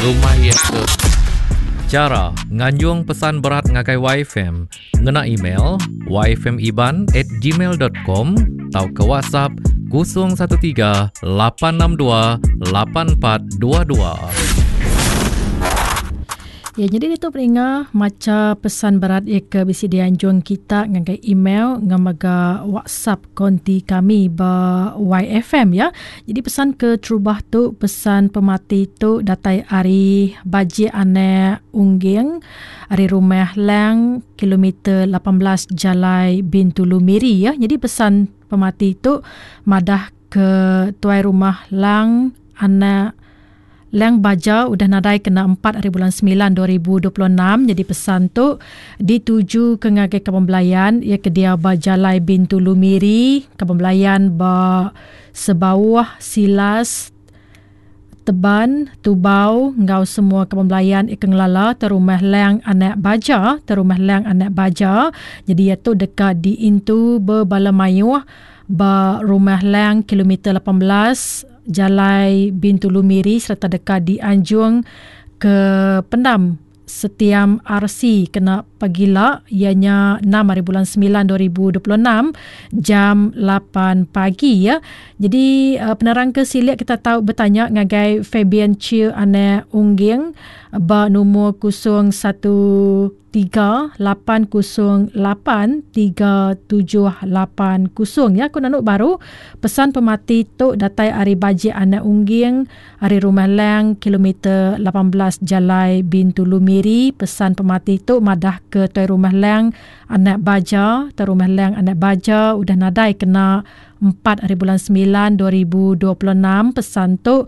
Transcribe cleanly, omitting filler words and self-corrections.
Rumah iya ke. Chara nganjung pesan berat ngagai YFM ngena email yfmiban@gmail.com tauka WhatsApp 013 862 8422. Ya, jadi ditu peninga macha pesan berat iya ke bisi dianjung kita ngagai email enggau mega WhatsApp konti kami ba YFM ya. Jadi pesan ke terubah tu pesan pemati tu datai ari Bajik Anak Ungging ari Rumah Lang kilometer 18 Jalai Bintulu Miri ya. Jadi pesan pemati tu madah ke tuai rumah Lang anak Lang Baja udah nadai kena 4 hari bulan 9 2026. Jadi pesan tu dituju ke ngagai kaban belayan iya ke diau ba Jalai Bintulu Miri, kaban belayan ba Sebauh, Silas, Teban, Tubau enggau semua kaban belayan iya ke ngelala Terumah Lang Anak Baja, Terumah Lang Anak Baja. Jadi iya tu deka diintu bebala mayuh ba Rumah Lang kilometer 18 Jalai Bintulu Miri sereta deka dianjung ke pendam Setiam RC kena pagila iya nya 6 hari bulan 9 2026 jam 8 pagi ya. Jadi penerang ke silik kita tau betanya ngagai Fabian Chiu Anak Ungging ba numur 01 3808 3780 ya. Aku nanu baru pesan pemati tu datai ari Bajik Anak Ungging ari Rumah Lang kilometer 18 Jalai Bintulu Miri. Pesan pemati tu madah ke tuai Rumah Lang Anak Baja, tuai Rumah Lang Anak Baja udah nadai kena 4 hari bulan 9 2026. Pesan tu